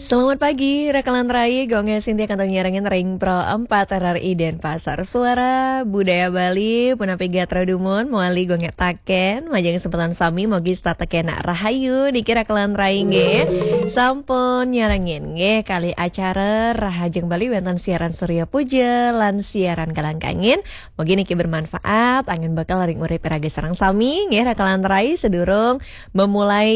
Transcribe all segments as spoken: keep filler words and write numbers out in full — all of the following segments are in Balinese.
Selamat pagi, rakalan rai, Gung Sintia kantun nyarengin ring Pro empat R R I Denpasar. Suara Budaya Bali, punapi gatra dumun, mawali Gung Taken, majeng sempetan sami, mogi setata kena rahayu, niki rakalan rai nggih. Sampun nyarengin nggih, kalih acara Rahajeng Bali wenten siaran Surya Puja, lan siaran Galang Kangin. Mogi niki bermanfaat, anggen bekel ring urip raga sareng sami, nggih rakalan rai, sedurung memulai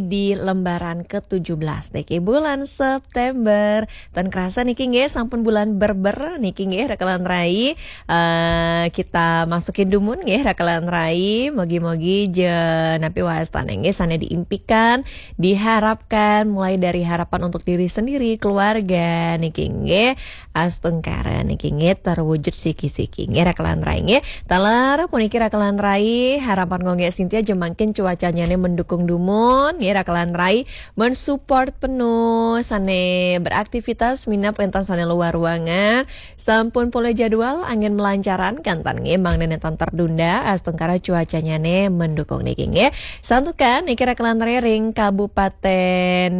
di lembaran ketujuh belas niki bulan September. Tan kerasa niki nggih sampun bulan Berber niki nggih rakalan rai. Eh, kita masukin dumun nggih rakalan rai. Mogi-mogi je napi wastane nggih sane diimpikan, diharapkan mulai dari harapan untuk diri sendiri, keluarga niki nggih astungkara niki nggih terwujud siki-siki nggih rakalan rai nggih. Taler puniki rakalan rai, harapan Gung Sintia je mangkin cuacanyane mendukung dumun nggih rakalan rai, mensupport penuh sane beraktivitas minab wenten sane luar ruangan, sampun polih jadwal anggen melancaran kenten nggih mangda nenten tertunda astungkara cuacanyane mendukung niki nggih. Santukan niki rakalan rai ring Kabupaten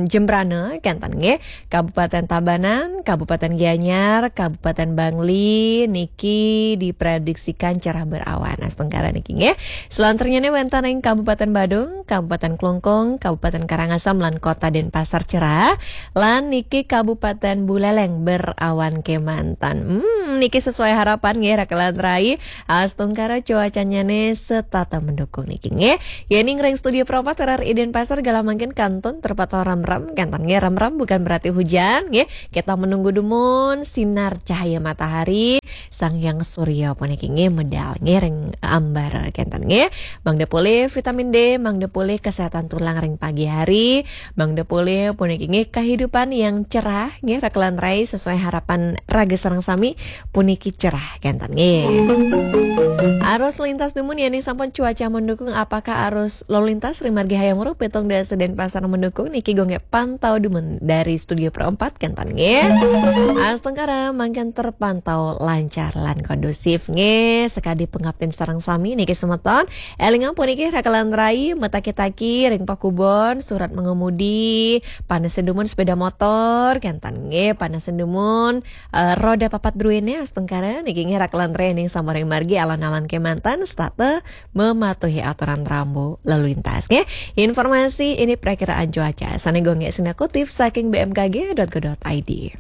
Jembrana kenten nggih. Kabupaten Tabanan, Kabupaten Gianyar, Kabupaten Bangli niki diprediksikan cerah berawan astungkara niki nggih. Selanturnyane wenten ring Kabupaten Badung, Kabupaten Klungkung, Kabupaten Karangasem lan Kota Denpasar cerah. Lan niki Kabupaten Buleleng berawan kemanten. Hmm, niki sesuai harapan nggih rakalan rai. Astungkara cuacanyane setata mendukung niki nggih. Yening ring studio Pro empat R R I Denpasar galah mangkin kantun terpantau remrem, kenten nggih remrem bukan berarti hujan nggih. Kita menunggu dumun sinar cahaya matahari, Sang Hyang Surya puniki nggih medal nggih ring ambar kenten nggih. Mangda polih vitamin D, mangda polih kesehatan tulang ring pagi hari, mangda polih puniki nggih kehidupan yang cerah nggih rakalan rai sesuai harapan raga sareng sami puniki cerah kenten nggih. Arus lintas dumun yening sampun cuaca mendukung, apakah arus lalu lintas ring margi Hayam Wuruk pitung dasa Denpasar mendukung niki Gung pantau dumun dari studio Pro empat kenten nggih. Astungkara mangkin terpantau lancar lan kondusif nggih. Sekadi pangaptin sareng sami niki semeton. Elingang puniki rakalan rai, mataki-taki ring pakubon, surat mengemudi, panesin dumun sepeda motor kenten nggih, panesin dumun eh, roda papat druene astungkara niki nggih rakalan rai ning samuring margi alon-alon kemanten setata mematuhi aturan rambu lalu lintas nggih. Informasi ini perakiraan cuaca sane Gung Sintia kutip saking B M K G dot go dot I D.